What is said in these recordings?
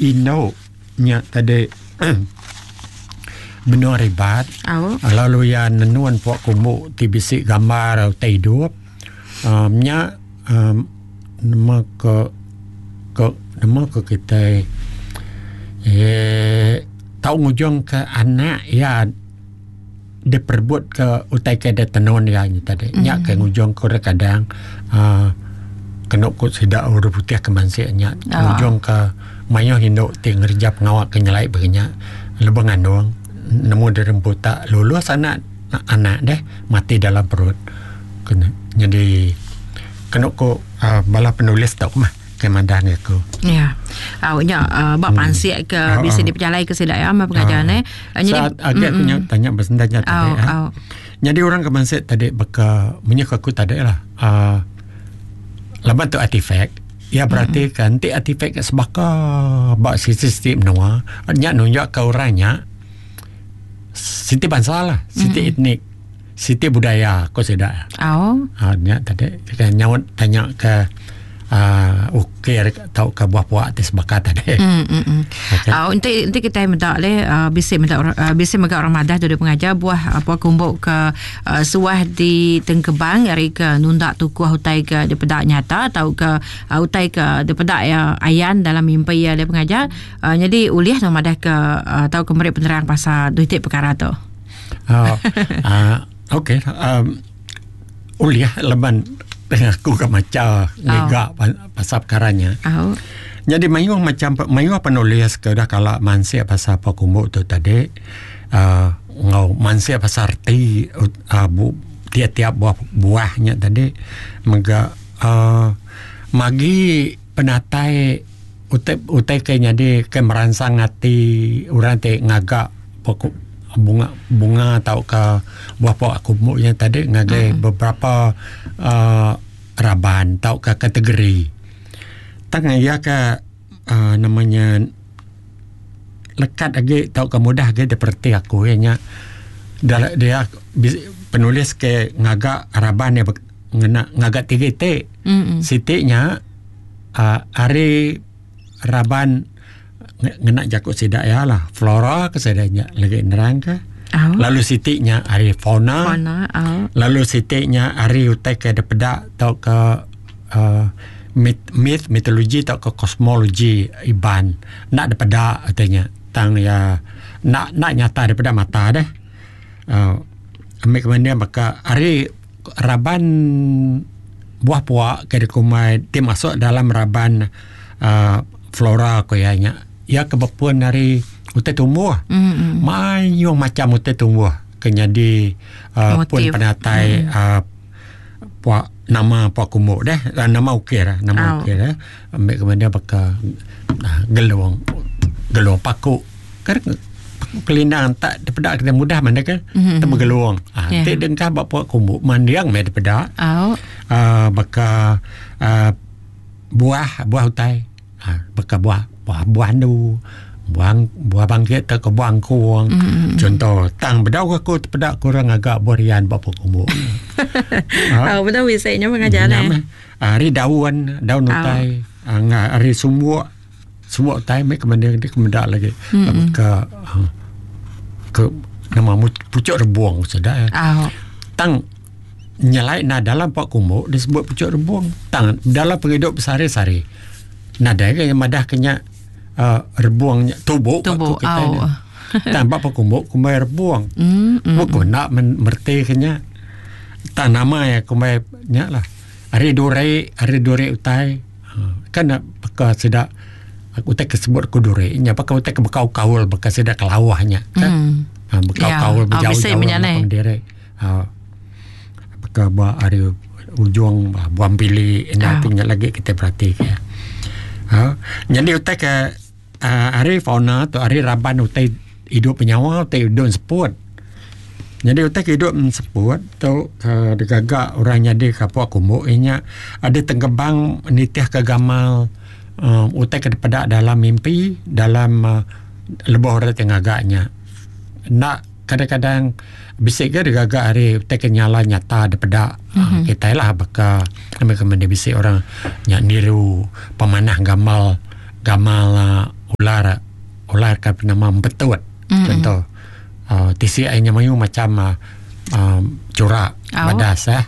indu nya tadi benung ribat lalu iya nenun pua kumbu ti bisi gambar utai idup um nya um nama ke ke nama ke kitai eee tau ngujung ke anak iya diperebut ke utai ke ditenun iya nya tadi. Nya ke ngujung ke orang kadang uhh kenu ku sida orang putih ke mansik nya ngujung ke mayuh indu ti ngereja pengawa ke nyelai baka nya lebuh ngandung nemu diri empu tak lulus anak anak deh mati dalam perut. Nyadi kenu ku uhh bala penulis tu mah. Ke madah ngi aku. Ya. Au nya uh, ba hmm. pansik ke hmm. bisi dipejalai ke sida ya mah pengajar ne. Jadi Saat agi aku nya tanya besenda nya tadi. Au, au. Jadi orang ke mansik tadi baka munyi aku tadi lah. Uh, laban tu artifak Ya berarti hmm. kan ti artifak ke sebaka ba sisi-sisi menua nya nunjuk ke orang nya siti bansa lah, siti hmm. etnik. Siti budaya ko sida. Oh. Ha nya tadi ke nyaut tanya ke uh, ukir tauka buah puak ti sebaka tadi. Mm, mm, mm. Okay. Uh, enti enti kitai meda le uh, bisi meda uh, bisi mega orang madah tu dia pengajar buah apa kumbuk ke uh, suah di tengkebang ari ke nunda tukuh utai ke dipeda nyata tauka uh, utai ke dipeda ya ayan dalam mimpi ya dia pengajar uh, jadi ulih tu madah ke uh, tauka meri penerang pasal duit perkara tu. Uh, uh, okey um, ulih laban aku ke macha ngiga oh. pasal perkara nya. Oh. Jadi mayuh macam mayuh penulis ke udah kala mansik pasal apa kumbu tu tadi uh, ngau mansik pasal reti uh, bu, tiap-tiap buah buahnya tadi mega uh, magi penatai utai utai ke nyadi ke meransang ati orang ti ngaga pokok bunga bunga tauka buah pok aku mu nya tadi ngagai mm. beberapa uh, raban tauka kategori. Tang iya ke uh, namanya lekat agi tauka mudah agi dipereti aku iya nya dia penulis ke ngaga raban iya ngena ngaga tiga iti. Mm. Siti nya uh, ari raban ngena jaku sida iya lah flora ke sida nya lagi nerang ke oh. lalu siti nya ari fauna, fauna oh. lalu siti nya ari utai ke dipeda tauka uh, myth, myth mitologi tauka kosmologi Iban enda dipeda utai nya tang iya enda enda nyata dipeda mata deh uh, ambi ke banding baka ari raban buah pua ke dikumbai ti masuk dalam raban uhh flora ku iya nya. Iya ke bepun ari utai tumbuh. Mm-hmm. Mayuh macam utai tumbuh ke nyadi uhh pun penatai Mm. uhh pua nama pua kumbu deh nama ukir nama Au. ukir eh. Ambi ke meda baka gelung gelung paku. Kan kelindang tak dipeda kita mudah mana ke Mm-hmm. temu gelung. Ha, Yeah. ti dengkah ba pua kumbu mandiang meh dipeda. Au. Uh, baka uh, buah buah utai. Ha, baka buah buah buah andu, buah buah bangkit tauka buah angkung. Mm-hmm. Contoh, tang bedau aku tepeda ku orang ngaga buah rian ba pua kumbu. Ha. Au bedau bisi nya pengajar Nya eh. meh. Ari daun, daun utai, uh, ari sumbuk Semua utai meh ke mending ti ke meda lagi mm-hmm. ke uh, ke nama pucuk rebung sida eh. Oh. Tang nyelai na dalam pak kumbu disebut pucuk rebung. Tang dalam pengidup sehari-sehari nadai ke madah ke nya uh, rebung nya tubu tubu kita oh. Tang ba pak kumbu kumbai rebung. Mm-hmm. Buku nak merti ke nya. Tang nama ya kumbai nya lah. Ari duri, ari duri utai. Kan ne baka sida utai ke sebut ku duri nya baka utai ke bekau kaul baka sida kelauh nya kan. Mm. Bekau Ya. kaul Oh, bejauh bisi jauh menya neh. ngapang diri. Ha baka ba ari ujung buah empili enda Ah. ti nya lagi kitai berati ke. Ha nyadi utai ke uhh ari fauna tu ari raban utai idup benyawa utai idup enseput. Nyadi utai ke idup enseput tu uhh digaga orang nyadi ka pua kumbu iya nya adeh tengkebang nitih ka gamal uhh utai ke dipeda dalam mimpi dalam uhh lebuh orang ti ngaga nya. Enda kadang-kadang bisi ga digaga ari utai ke nyala nyata dipeda uhh kitai lah baka meh bisi orang nya niru pemanah gamal gamal uhh. Ular ular ke penama empetut contoh uh, tisi ai nya mayuh macam uh, uh, curak badas eh.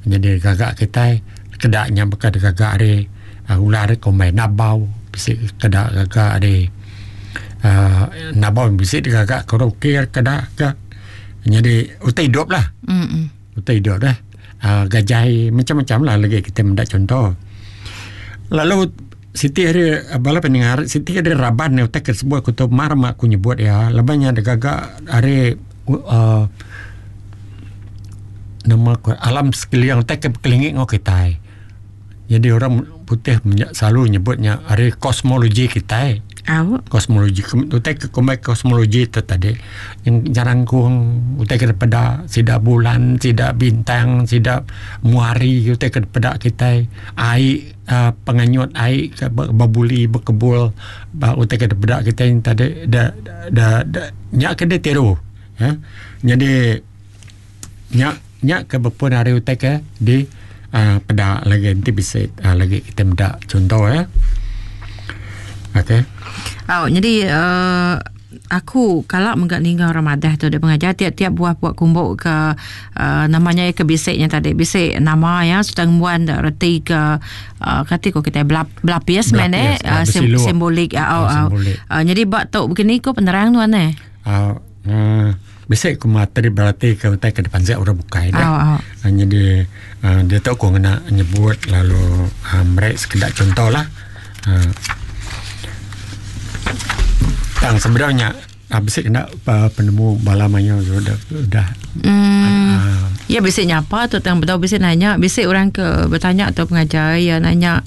Jadi gaga kitai keda nya baka digaga ari uh, ular kombai nabau bisi keda gaga ari uh, nabau bisi digaga ke ukir keda ka. Jadi utai idup lah. Utai idup dah. Uh, gajai macam-macam lah lagi kita menda contoh. Lalu siti hari bala pendengar siti hari raban ni utai ke sebut aku tu mar mak aku nyebut iya laban nya digaga ari uh, nama ku alam sekeliling utai ke bekelingi enggau kitai. Jadi orang putih selalu nyebut nya ari kosmologi kitai. Au. Kosmologi utai ke kumbai kosmologi tu tadi nyerangkung utai ke dipeda sida bulan, sida bintang, sida muari utai ke dipeda kitai ai uhh penganyut ai ke bebuli bekebul ba utai ke dipeda kitai tadi da da da nya ke ditiru uhh jadi Nya nya ke bepun ari utai ke di uhh peda lagi enti bisi uhh lagi kita meda chunto iya. Okey. Au nyadi uhh aku kala mega ninga orang madah tu dek pengajar tiap-tiap buah pua kumbu ke uhh nama nya ke bisi nya tadi bisi nama iya serta ngembuan reti ke uhh kati ko kitai belapis meh ne simbolik au au. Nyadi ba tu begini ko penerang nuan neh. Au uhh Bisi ku materi berati ke utai ke dipansik orang bukai deh. Oh, oh. Nyadi uh, diatu ku ngena nyebut lalu uh, meri sekeda contoh lah. Uh, tang sebenarnya uh, bisi kena uh, penemu bala mayuh udah udah Hmm. Uh, ya bisi nyapa tu tang bedau bisi nanya bisi orang ke bertanya tu pengajar ya nanya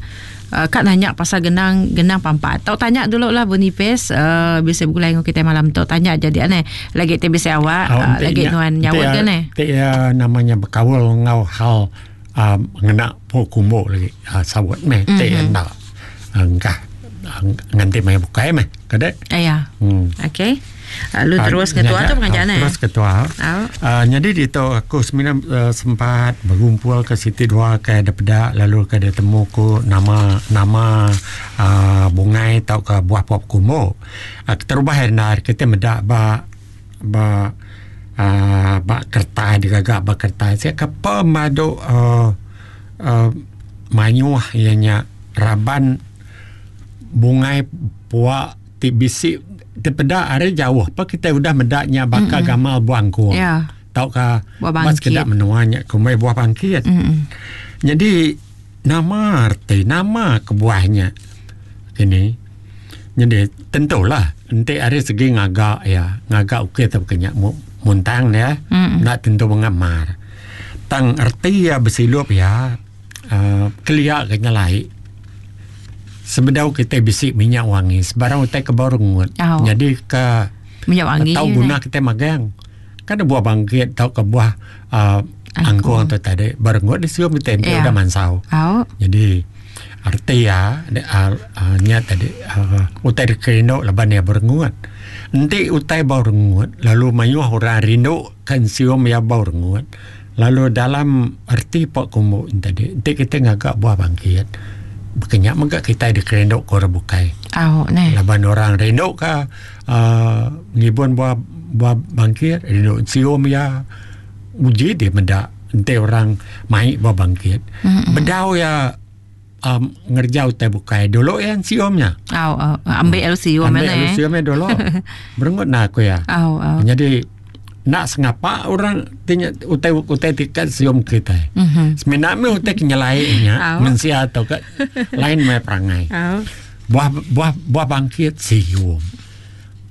Uh, ka nanya pasal genang genang pampat. Tau tanya dulu lah Boniface uh, bisa begulai dengan kita malam tu. Tanya jadi aneh. Lagi ti bisa awak oh, uh, lagi nuan nyaut kan eh. Ti ya namanya berkaul ngau hal uh, ngena po kumbu lagi. Uh, sawut meh mm -hmm. ti enda. Engkah nganti mai bukai meh. Kada? Ya. Hmm. Okey. Lalu uh, terus ketua tu pengajar ne. Terus ketua. Uh. Uh, jadi di tu aku semina uh, sempat berkumpul ke siti dua ke ada peda lalu ke ada temu ku nama nama uh, bungai tau ke buah pop kumbu. Uh, terubah endar kita meda ba ba uh, ba kertas digaga ba kertas sia ke pemadu uh, uh, mayuh iya nya raban bungai puak ti bisi dipeda ari jauh pa kitai udah meda nya baka mm-hmm. gamal buah angkung yeah. tauka ba sekeda menua nya kumbai buah bangkit mm-hmm. jadi nama arti nama kebuah nya kini jadi tentulah enti ari segi ngaga ya ngaga ukir tauka nya muntang dia mm-hmm. enda tentu mengamar tang arti ya besilup ya uhh kelia ke nyelai sebedau kitai bisi minyak wangi sebarang utai ke baru ngut nyadi ke tau guna kitai magang kan buah bangkit tauka buah uhh angkung tu tadi baru ngut disium kitai enti udah mansau. Jadi reti iya uhh nya tadi uhh utai dikerindu laban iya berengut. Enti utai ba rengut lalu mayuh orang rindu ke ensium iya ba rengut. Lalu dalam erti pok kumbu nya tadi enti kitai ngaga buah bangkit baka nya mega kitai dikerindu ke orang bukai. Au neh. Laban orang rindu ka uhh ngibun buah buah bangkit rindu sium iya uji dih meda enti orang mai buah bangkit. Bedau iya um ngereja utai bukai dulu iya sium nya. Au au ambil lalu sium Ambil lalu sium iya dulu. Berengut nah ku iya. Au au. Nyadi Enda sengapa orang ti nya utai utai ti ka sium kitai. Mm -hmm. Semina meh utai ke nyelai nya mensia tau ka lain meh perangai. Buah buah buah bangkit sium.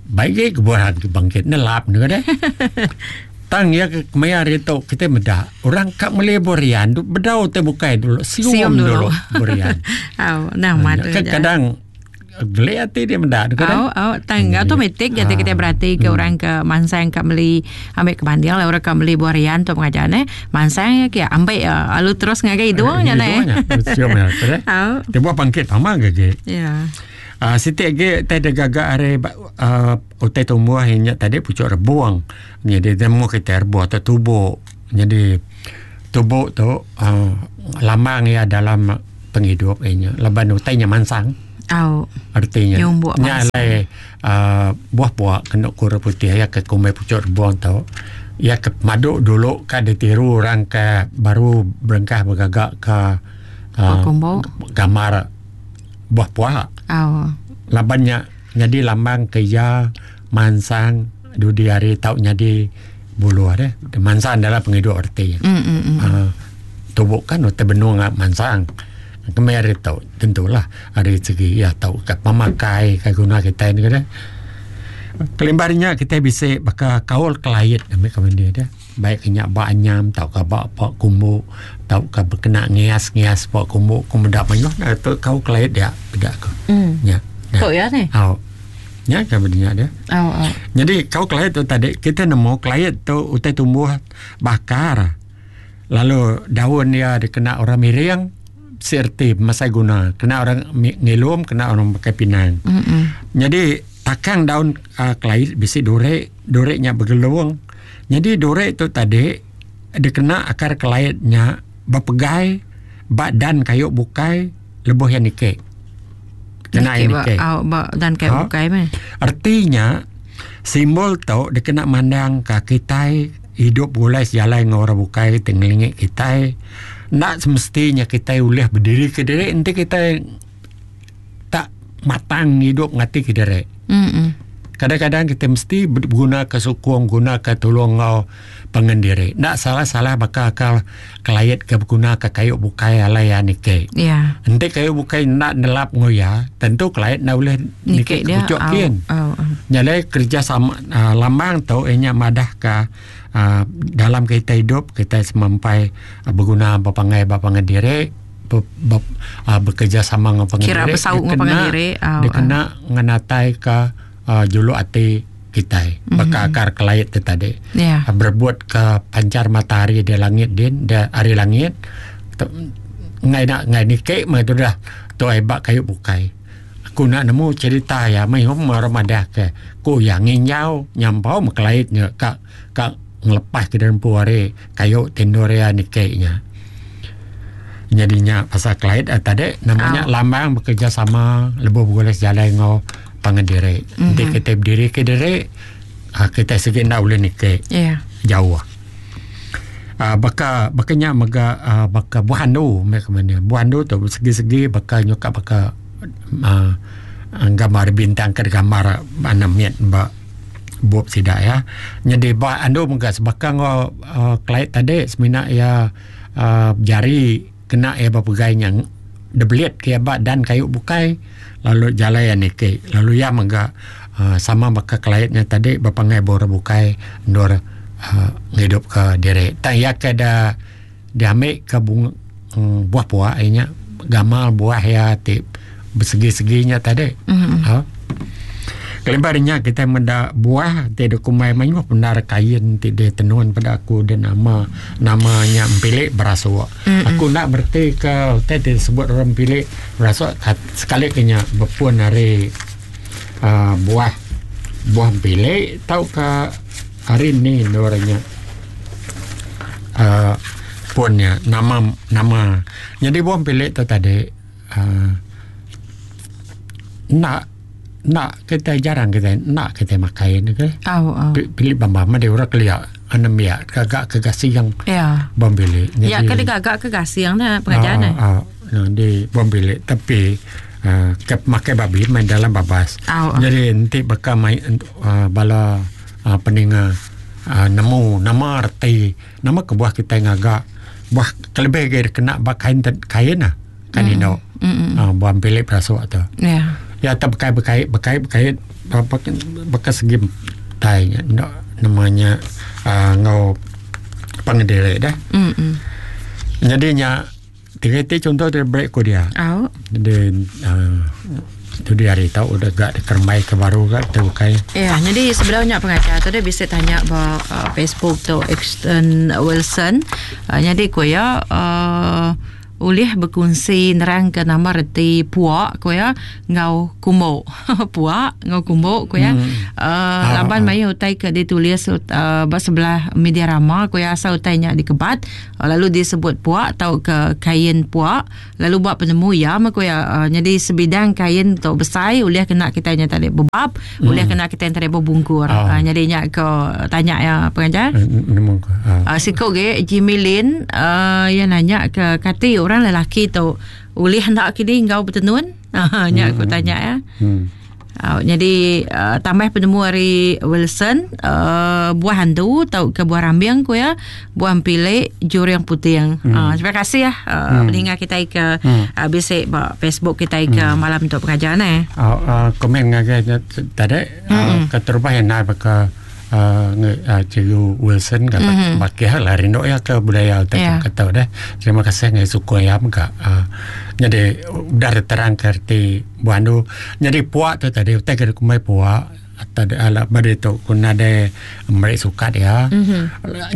Baik ge ke buah bangkit nelap ne deh. Tang iya ke kemaya hari tu kitai meda orang ka meli burian bedau utai bukai dulu sium, sium dulu, dulu burian. Au nah madu. Kadang Geli ati dia meda deka Au au tang hmm. automatik jadi kita berarti ke hmm. orang ke mansang ka meli ambil ke banding lah orang ka meli buah rian tu pengajar ne mansang ya ke ambil ya lalu terus ngagai hidung nya ne. Sium ya. Au. Dia buah pangkit pama ke ge. Ya. Ah siti ge tai dia gaga ari uh, utai tumbuh nya tadi pucuk rebung. Jadi dia mu kita rebung atau tubuh. Jadi tubuh tu uh, lambang ia dalam pengidup inya laban utai nya mansang. Au. Artinya Nyumbuk nya mansang. alai uh, buah pua kena ku orang putih ya ke kumbai pucuk rebung tu ya ke pemadu dulu ka ditiru orang ke baru berengkah begaga ke Pua uh, kumbu. gambar buah pua. Au. Laban nya nyadi lambang ke iya mansang dudi hari tau nyadi buluh deh. Mansang dalam pengidup reti. Mm mm mm. Uh, tubuh kan utai benung mansang. Kemai hari tu tentulah ari segi iya tau ka pemakai ka guna kitai ni deh. Kelimpah ari nya kitai bisi baka kaul kelait ambi ka mende deh. Baik ke nya ba anyam tauka ba pa kumbu tauka bekena ngias-ngias pa kumbu ku meda mayuh nya tu kaul kelait dia peda ku. Mm. Nya. Tu iya ni. Au. Nya ka beda nya deh. Au au. Nyadi kaul kelait tu tadi kita nemu kelait tu utai tumbuh bakar lalu daun iya dikena orang miring serti mesai guna kena orang ngilum kena orang pakai pinang. Mm-mm. Nyadi takang daun uh, kelait bisi duri, duri nya begelung. Nyadi duri tu tadi dikena akar kelait nya bepegai ba dan kayu bukai lebuh iya niki. Kena iya Niki ba niki. au ba dan kayu Ha. bukai meh. Artinya simbol tu dikena mandang ka kitai hidup begulai sejalai enggau orang bukai ti ngelingi kitai. Enda semestinya kitai ulih bediri kediri enti kitai tak matang hidup ngati kediri. Mm. Kadang-kadang kita mesti beguna ke sukung, guna ke tulung enggau pangan diri. Enda salah-salah baka akal kelait ke beguna ke kayu bukai alai iya niki. Ya. Enti kayu bukai enda nelap enggau iya, tentu kelait enda ulih Niki niki ke dia. puchuk Au kin. au. au. Nya alai kerjasama uh, lambang tu iya nya madah ka uh, dalam kita hidup kita semampai uh, beguna bepangai ba pangan diri be, be, uh, bekerjasama enggau pangan Kira diri besauk enggau pangan diri. Au au. dikena ngenatai ka uh, juluk ati kitai mm-hmm. baka akar kelait tu tadi Ya. uh, berebut ke pancar matahari di langit din di ari langit ngai nak ngai niki meh tu dah tu ai ba kayu bukai aku nak nemu cerita ya mai hom orang madah ke ku ya nginjau nyampau me kelait nya ka ka ngelepas ke dempu ari kayu ti endur iya niki nya. Nyadi nya pasal kelait eh, tadi nama nya Au. lambang bekerjasama lebuh begulai sejalai enggau pangan diri. Mm-hmm. Enti kita berdiri ke diri ah, kita sigi enda ulih niki Ya. jauh. Uh, baka baka nya mega uh, baka buah andu meh ke mana. Buah andu tu segi-segi baka nyuka baka uh, gambar bintang ke gambar anak mit ba bup sida ya. Nyadi ba andu mega sebaka enggau uh, kelait tadi semina iya uh, jari kena iya bepegai nya debelit ke iya ba dan kayu bukai lalu jalai iya niki. Lalu iya mega uh, sama baka kelait nya tadi bepangai ba orang bukai endur uh, ngidup ke diri. Tang iya ke da diambil ke bunga, um, buah puak iya nya gamal buah iya ti bersegi-segi nya tadi. Mm. Ha. Kelimpah ari nya kita meda buah ti dikumbai mayuh bendar kain ti ditenun pada aku dan nama namanya empilik berasuk. Mm-mm. Aku enda bereti ke utai ti disebut orang empilik berasuk sekali ke nya bepun ari uh, buah buah empilik tauka hari ni endur nya uh, pun nya nama nama. Jadi buah empilik tu tadi uh, nak nak kita jarang kita nak kita makai ni ke. Au au. Pilih bambam ada orang kelia anem ya gagak ke gasing Ya. bom bilik. Ya ke digagak ke gasing dah pengajian eh. Ah, ah, di bom bilik tapi uh, ke makai babi main dalam babas. Au. au. Jadi nanti bakal main uh, bala uh, peninga uh, nemu nama erti nama kebuah kita ngagak buah kelebih ke kena bak kain kain lah kan mm. ino Mm. uh, buah bilik berasuk tu. Ya. Ya tak berkait berkait berkait berkait apa bekas segi tai nya no, namanya uh, ngau pangedere dah. Mm. Jadinya tiga ti contoh dia break ko dia. Au. Jadi uh, tu dia hari tahu udah gak dikermai ke baru gak tu kai. Ya, jadi sebelumnya pengajar tu dia bisa tanya ba uh, Facebook tu Exton Wilson. Uh, jadi ku ya uh, Ulih bekunsi nerangka nama reti puak ku iya enggau kumbu. Puak enggau kumbu ku iya. Uh, laban mayuh utai ke ditulis uh, ba sebelah media rama ku iya asal utai nya dikebat uh, lalu disebut puak tauka kain puak lalu ba penemu iya meh ku iya uh, nyadi sebidang kain tu besai ulih kena kitai nya tadi bebab ulih kena kitai tadi bebungkur. Uh, nyadi nya ko tanya iya pengajar. Nemu ko. Uh, siku ge Jimmy Lin uh, iya nanya ke kati orang lelaki tu ulih enda kini enggau betenun? Nya aku tanya ya. Uh, jadi uh, tambah penemu ari Wilson uh, buah hantu tau ke buah rambing ku ya buah empilik juring puting. Uh, terima kasih ya uh, pendengar kita ke uh, bisi ba Facebook kita ke malam tu pengajar ne. Uh, uh, komen ngagai nya tadi uh, keterubah yang nak baka uh, uh, Cikgu Wilson ke mm-hmm. bakih lah rindu ya ke budaya utai yeah. kata deh. Terima kasih ngai sukung ya mega. Uh, jadi udah terang ke erti buah andu. Jadi puak tu tadi utai ke kumbai puak atau ala beri tu ku nadai meri sukat ya. Mm-hmm.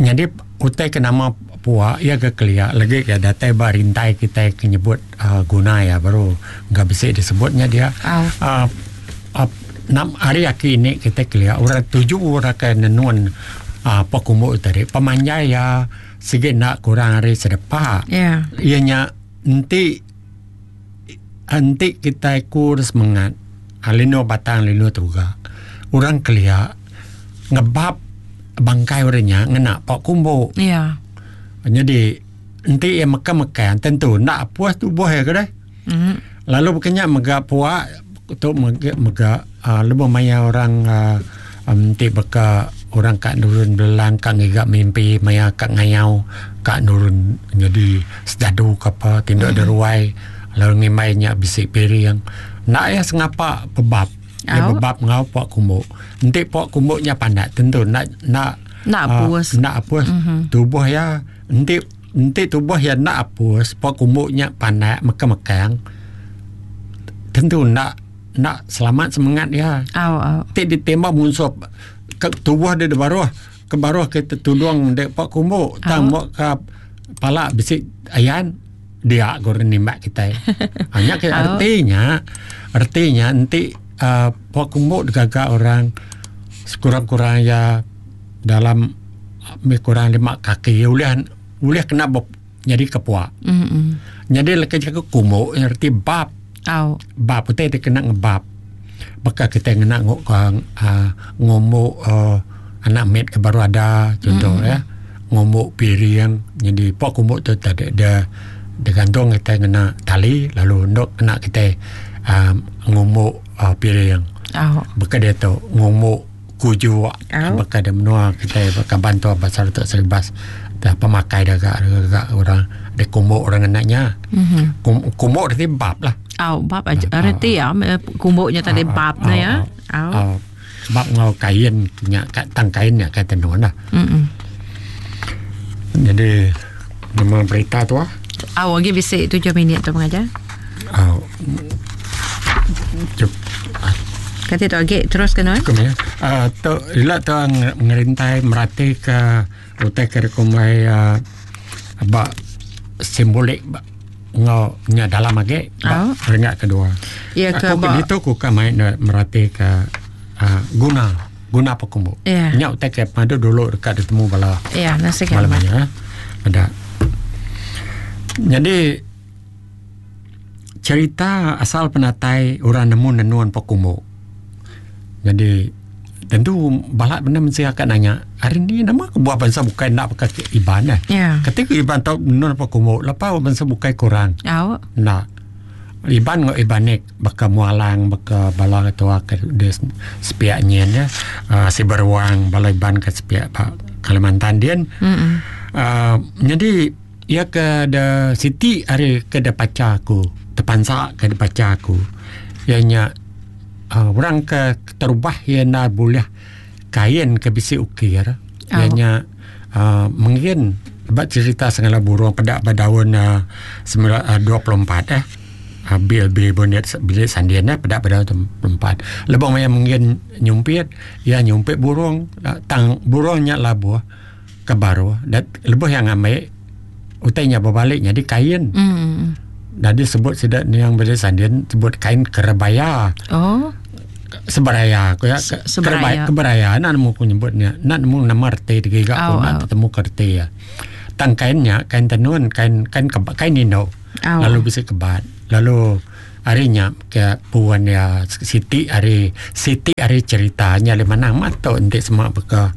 Jadi utai ke nama puak ya ke kelia lagi ke datai ba rintai kita ke nyebut uh, guna ya baru enggak bisi disebutnya dia. Oh. Uh, uh, nam hari aki ini kita kelia orang tuju orang ke nenun uh, pok kumbu tadi pemanjai ya sigi nak kurang hari sedepa. Yeah. Ianya enti enti kita kur semangat lino batang lino tuga orang kelia ngebab bangkai orangnya ngena pok kumbu. Yeah. Jadi enti ia makan-makan tentu nak puas tubuh ya ke deh. Lalu bukannya mega puak tu mega, mega uh, lebuh maya orang uh, enti beka orang kat nurun belang kat ngiga mimpi maya kat ngayau kat nurun jadi sejadu ke apa tinduk mm. deruai lalu ngimbai nya bisi piring nak ya sengapa bebab ya Au. bebab ngau puak kumbu enti puak kumbu nya pandak tentu nak nak Nak apus. Uh, nak apus mm-hmm. tubuh ya enti enti tubuh ya nak apus puak kumbu nya pandak mekang-mekang tentu nak nak selamat semangat ya. Au au. Ti ditembak musuh ke tubuh dia di baruh ke baruh kita tudung dek pak kumbu tang Au. ke pala bisi ayan dia goreng nimbak kita. Hanya ke Au. artinya artinya enti uh, pak kumbu digaga orang sekurang-kurang ya dalam lebih kurang 5 kaki ulih ulih kena bop, jadi kepuak. Mm. Jadi leka jaga kumbu erti bab Au. bab utai dia kena ngebab. Baka kita kena ngok uh, ngomok uh, anak mit ke baru ada contoh ya. Ngomok piring jadi pok kumbu tu tadi dia dia gantung kita kena tali lalu ndok kena kita um, ngomok uh, piring. Au. Baka dia tu ngomok kujuk Au. baka dia menua kita baka bantu pasal tu seribas dah pemakai dah gak, gak orang dia kumbuk orang anaknya. Mhm. Kum, kumbuk dia bab lah. Au bab aja reti ya kumbuknya tadi bab na ya. Au. Au. Bab ngau kain nya kat tang kain nya kat tenun lah. Mm. Jadi nama berita tu ah. Au lagi bisi 7 minit tu pengajar. Au. Cukup. Kata tu lagi terus kena. Cukup ya. Uh, tu ila tu ngerintai merati ke utai ke rekomai uh, ba simbolik ba ngau nya dalam age ba Au. renggat kedua. Ya ke Aku ba ke ditu ku ka main na merati ke uh, guna guna pekumbu. Ya. Nya utai ke padu dulu dekat ditemu bala Ya, nasi malam kan. ya. Ada. Jadi cerita asal penatai orang nemu nenuan pekumbu. Jadi tentu balak benda mesti akan nanya hari ni nama ke buah bangsa bukai nak pakai iban eh. Ya. Ketika iban tahu nenun pekumbu, lepas bangsa bukai kurang. Au. Nak Iban ngau Ibanik baka mualang baka bala ketua ke di sepiak nyen ya. Uh, si beruang bala Iban ke sepiak Pak Kalimantan dia. Mm. Uh, jadi ia ke de Siti hari ke de paca aku terpansak ke de paca aku. Ianya uh, orang ke terubah ia nak boleh kain ke bisi ukir. Oh. Ianya uh, mungkin sebab cerita segala burung pedak pada tahun uh, 24 eh. Uh, bil bil bonet bilik sandian eh pedak pada tahun 24. Lebih maya mungkin nyumpit, ya nyumpit burung uh, tang burungnya labuh ke baru dan lebih yang ambil utai nya bebali nyadi kain. Mm. Nyadi sebut sida niang beli sandin sebut kain kerebaya. Oh. Seberaya ku ya. Seberaya. Keberaya enda nemu ku nyebut nya. Enda nemu nama reti digiga ku enda tetemu ke reti iya. Tang kain nya kain tenun kain kain keba kain indu. Lalu bisi kebat. Lalu ari nya ke puan iya siti ari siti ari cherita nya lebih manah amat tu enti sema baka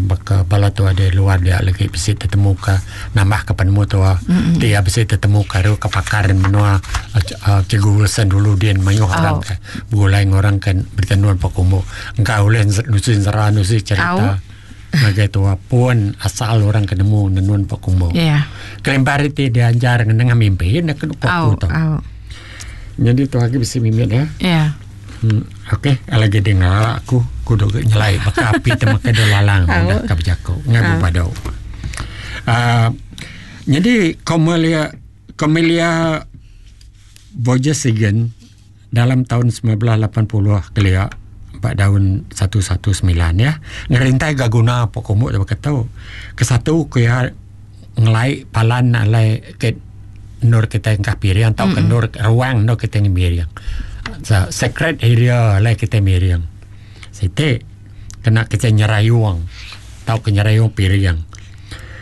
baka bala tuai di luar dia lagi bisi tetemu ka nambah ka penemu tua ti iya bisi tetemu ka ru ka pakar menua uhh Cikgu Wilson dulu din mayuh orang ka begulai enggau orang ke betenun pekumbu engka ulih nusi ensera nusi cherita ngagai tua pun asal orang ke nemu nenun pekumbu. Kelimpah ari ti diajar nengah mimpi ne ke ku tu. Nyadi tu agi bisi mimit ya. Ya. Hmm, okey, lagi dia ngelala aku, aku duk nyelai baka api te makai duk lalang udah ka bejaku ngai uh. bebadau. Uh, nyadi Komelia Komelia Vogesegen dalam tahun 1980 kelia ba daun 119 ya ngerintai ga guna pok kumbu baka tu. Kesatu ku iya ngelai palan alai ke endur kitai engkah piring tauka endur ruang endur kitai miring. So sacred area alai kitai miring. Siti kena kitai nyerayung tauka nyerayung piring.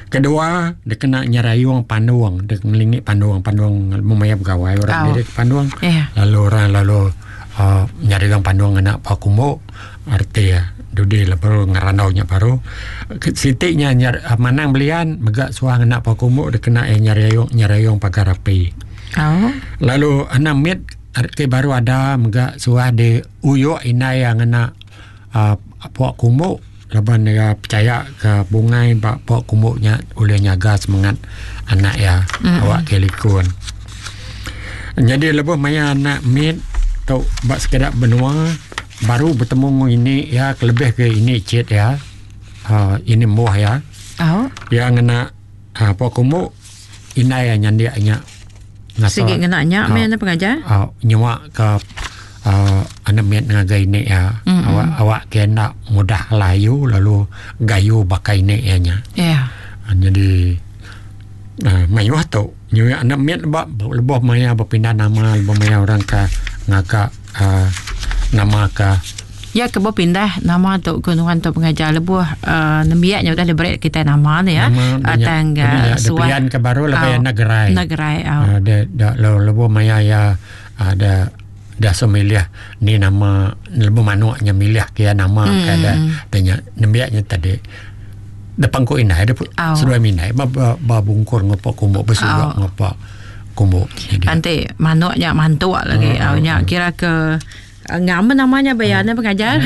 Kedua dikena nyerayung pandung dek ngelingi pandung pandung mung maya begawai orang diri ke pandung lalu orang lalu uhh nyerayung pandung ngena pau kumbu reti iya dudi lebuh ngerandau nya baru. Siti nya manang belian mega suah ngena pau kumbu dikena iya nyerayung nyerayung pagar api. Lalu anak mit ti baru ada mega suah di uyuk indai iya ngena uhh pua kumbu laban iya pechaya ke bungai ba pua kumbu nya ulih nyaga semengat anak iya awak ke likun. Nyadi lebuh maya anak mit tu ba sekeda menua baru betemu enggau ini iya kelebih ke ini chit iya uhh ini embuh iya. Iya ngena uhh pua kumbu indai iya nyandik nya. Sigi ngena nya meh ne pengajar. Au nyua ka uhh anak mit ngagai ini iya awak awak ke enda mudah layu lalu gayu baka ini iya nya. Nyadi uhh mayuh tu nyua anak mit ba lebuh maya bepindah nama lebuh maya orang ka ngaga uhh nama ka. Iya ke bepindah nama tu ke nuan tu pengajar lebuh uh, nembiak nya udah diberi kitai nama ne ya. Nama Tang uh, suah pilihan ke baru lebih anak gerai. Anak gerai au. Uh, de, de, lebuh maya ya ada dah so milih ni nama lebuh manuk nya milih ke nama hmm. ke ada tanya nembiak nya tadi depan ku indai de seduai mindai ba ba, ba bungkur ngopak kumbuk besurak ngopak kumbuk. Nanti manuk nya mantuk lagi. Au nya kira ke Ngam nama nya baya ne pengajar.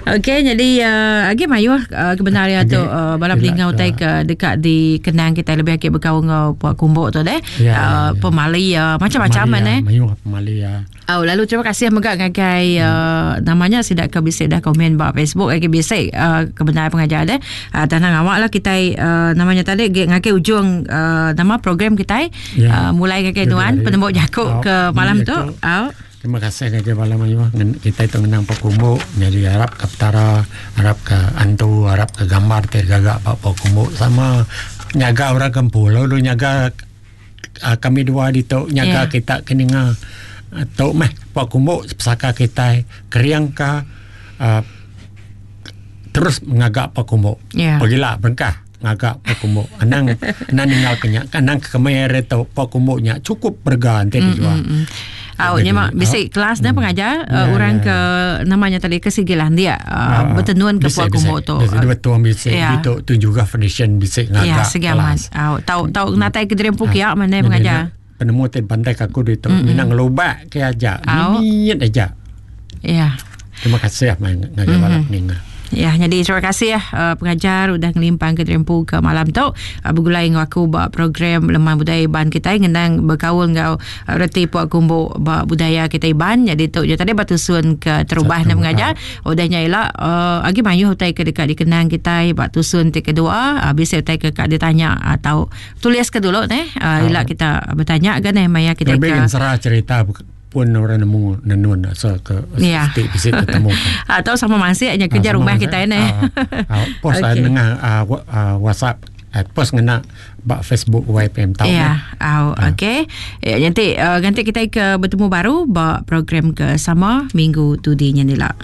Okey jadi uh, agi mayuh uh, kebenar ya tu uh, bala peninga utai ke deka dikenang kita lebih agi bekaul enggau puak kumbuk tu deh. Ya, uh, ya, ya. pemali uh, macam-macam Pemali, eh. Mayuh pemali ya. Oh, lalu terima kasih mega ngagai uh, namanya sida ke bisi dah komen ba Facebook agi bisi uh, kebenar pengajar deh. Uh, tanah ngawak lah kita uh, namanya tadi ngagai ujung uh, nama program kita ya. uh, mulai ngagai tuan penemu jaku ke malam tu. Oh. Terima kasih ngagai bala mayuh kitai tu ngenang Pakumbu nyadi arap ka Petara, arap ka antu, arap ka gambar ti digaga ba Pakumbu sama nyaga orang ke empu lalu nyaga uhh kami dua ditu nyaga Yeah. kita ke ninga tu meh Pakumbu pesaka kitai kering ka uhh terus ngaga Pakumbu. Yeah. Pagila berengkah ngaga Pakumbu anang anang ninggal ke nya anang ke kemai ari tu Pakumbu nya cukup berega enti dijual. Mm, mm, mm. Au nya mak bisi kelas nya pengajar Ya, orang ya, ke namanya tadi ke sigi landik Ah, betenun ke bisi, puak bisi. kumbu tu. Bisi betul bisi Ya. ditu tu juga foundation bisi Ya, ngaga sigi amat. kelas. Au tau tau natai ke diri empu kia mana Jadi, pengajar. nak Penemu ti pantai ke aku ditu mina ngelubak ke aja. Au. Mimit aja. Ya. Terima kasih mai ngagai bala peninga. Ya, jadi terima kasih ya pengajar udah ngelimpang ke Trempu ke malam tu begulai enggau aku ba program Leman Budaya Iban kitai ngenang bekaul enggau reti puak kumbu ba budaya kitai Iban. Jadi tu je tadi ba tusun ke terubah ne pengajar. Udah nya ila uh, agi mayuh utai ke deka dikenang kitai ba tusun ti kedua uh, bisi utai ke ka ditanya atau tulis ke dulu neh uh, ila kita betanya ga neh maya kita Lebih ke ensera cerita pun orang nemu nenun asal ke Ya. siti bisi tetemu. Atau sama masih nya kerja Ah, sama rumah masih. kita ni. Ah, ah, post Okey. nengah ah, wa- ah, WhatsApp. Post ngena ba Facebook YPM tau. Ya, au okey. Ya, nganti nganti kita ke betemu baru ba program ke sama minggu tudi nya nila.